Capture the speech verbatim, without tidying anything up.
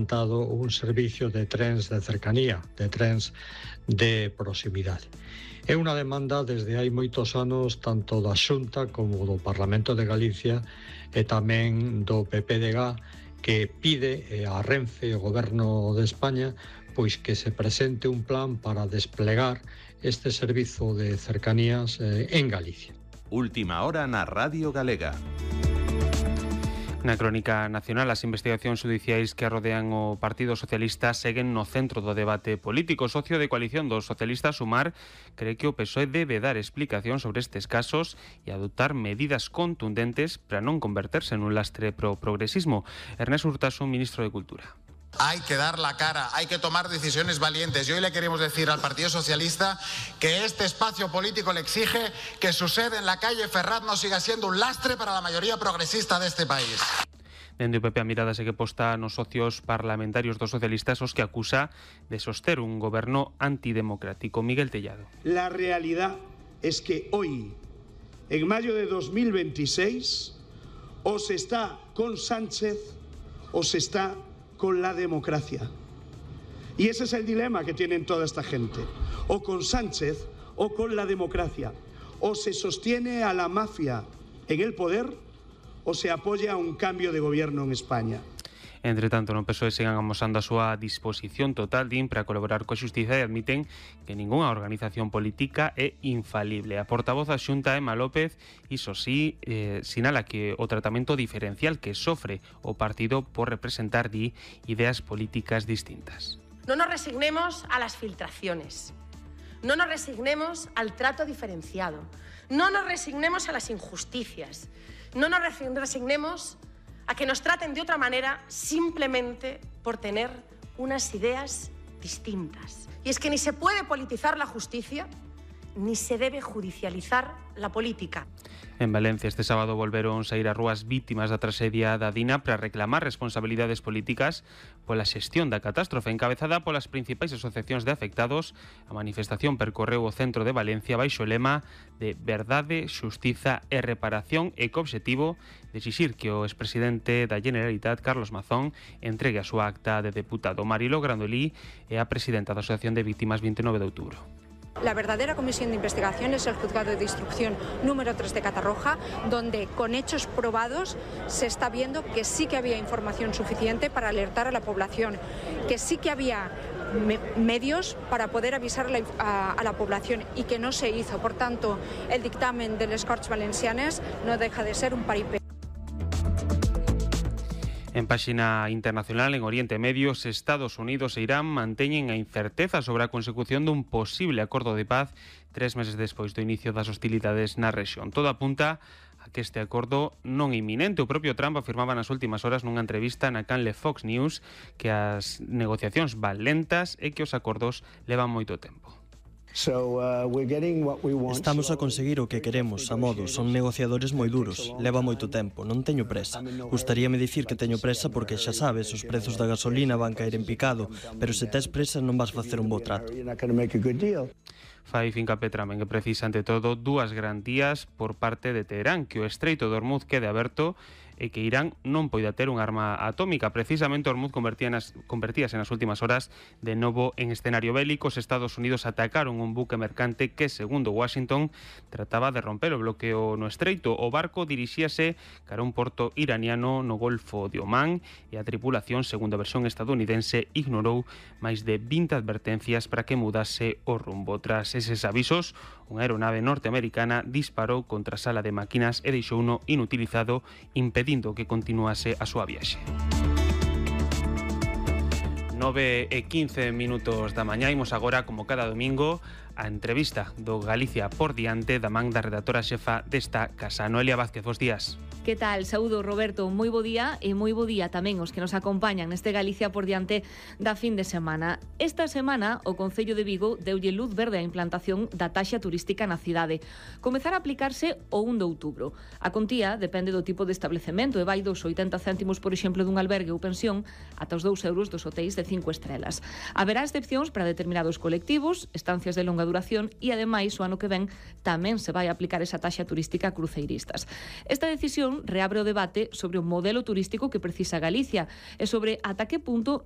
implantado un servicio de trens de cercanía, de trens de proximidade. É unha demanda desde hai moitos anos tanto da Xunta como do Parlamento de Galicia e tamén do P P D G, que pide a Renfe, o Goberno de España, pois que se presente un plan para desplegar este servizo de cercanías en Galicia. Última hora na Radio Galega. Na crónica nacional, as investigacións xudiciais que rodean o Partido Socialista seguen no centro do debate político. O socio de coalición dos socialistas, Sumar, cree que o P S O E debe dar explicación sobre estes casos e adoptar medidas contundentes para non converterse nun lastre pro progresismo. Ernest Urtasun, ministro de Cultura. Hay que dar la cara, hay que tomar decisiones valientes. Y hoy le queremos decir al Partido Socialista que este espacio político le exige que su sede en la calle Ferraz no siga siendo un lastre para la mayoría progresista de este país. Dende o P P a mirada segue posta nos socios parlamentarios dos socialistas, os que acusa de soster un goberno antidemocrático. Miguel Tellado. La realidad es que hoy, en mayo de dos mil veintiséis, o se está con Sánchez o se está con la democracia. Y ese es el dilema que tienen toda esta gente. O con Sánchez o con la democracia. O se sostiene a la mafia en el poder o se apoya a un cambio de gobierno en España. Entre tanto, no P S O E sigan amosando a súa disposición total din para colaborar coa xustiza e admiten que ningunha organización política é infalible. A portavoz da Xunta, Emma López, iso sí, eh, sinala que o tratamento diferencial que sofre o partido por representar di ideas políticas distintas. No nos resignemos a las filtraciones, no nos resignemos al trato diferenciado, no nos resignemos a las injusticias, no nos resignemos a que nos traten de otra manera simplemente por tener unas ideas distintas. Y es que ni se puede politizar la justicia, ni se debe judicializar la política. En Valencia este sábado volveron saír ás rúas vítimas da traxedia da Dina para reclamar responsabilidades políticas pola xestión da catástrofe. Encabezada polas principais asociacións de afectados, a manifestación percorreu o centro de Valencia baixo o lema de verdade, xustiza e reparación e co obxectivo de exixir que o expresidente da Generalitat, Carlos Mazón, entregue a súa acta de deputado. Marilo Grandolí é a presidenta da Asociación de Víctimas vinte e nove de outubro. La verdadera comisión de investigación es el juzgado de instrucción número tres de Catarroja, donde con hechos probados se está viendo que sí que había información suficiente para alertar a la población, que sí que había me medios para poder avisar a la, a, a la población y que no se hizo. Por tanto, el dictamen de les Corts Valencianes no deja de ser un paripé. En páxina internacional, en Oriente Medio, Estados Unidos e Irán manteñen a incerteza sobre a consecución dun posible acordo de paz tres meses despois do inicio das hostilidades na rexión. Todo apunta a que este acordo non é inminente. O propio Trump afirmaba nas últimas horas nunha entrevista na canle Fox News que as negociacións van lentas e que os acordos levan moito tempo. Estamos a conseguir o que queremos, a modo, son negociadores moi duros, leva moito tempo, non teño presa. Gustaríame dicir que teño presa porque xa sabes, os prezos da gasolina van caer en picado, pero se tes presa non vas facer un bo trato. Fai fincapé Trump en que precisa, ante todo, dúas garantías por parte de Teherán, que o estreito de Hormuz quede aberto e que Irán non poida ter unha arma atómica. Precisamente Hormuz convertíase nas últimas horas de novo en escenario bélico. Os Estados Unidos atacaron un buque mercante que, segundo Washington, trataba de romper o bloqueo no estreito. O barco dirixíase cara a un porto iraniano no Golfo de Omán e a tripulación, segundo a versión estadounidense, ignorou máis de vinte advertencias para que mudase o rumbo. Tras eses avisos, unha aeronave norteamericana disparou contra a sala de máquinas e deixouno inutilizado, impedindo que continuase a súa viaxe. nove e quince minutos da mañá, imos agora, como cada domingo, a entrevista do Galicia por diante da man da redactora xefa desta casa. Noelia Vázquez, bos días. Que tal? Saúdo, Roberto, moi bo día e moi bo día tamén os que nos acompañan neste Galicia por diante da fin de semana. Esta semana o Concello de Vigo deulle luz verde á implantación da taxa turística na cidade. Comezar a aplicarse o un de outubro. A contía depende do tipo de establecemento e vai dos oitenta céntimos, por exemplo, dun albergue ou pensión ata os dous euros dos hotéis de cinco estrelas. Haberá excepcións para determinados colectivos, estancias de longa duración e, ademais, o ano que ven tamén se vai aplicar esa taxa turística a cruceiristas. Esta decisión reabre o debate sobre o modelo turístico que precisa Galicia e sobre ata que punto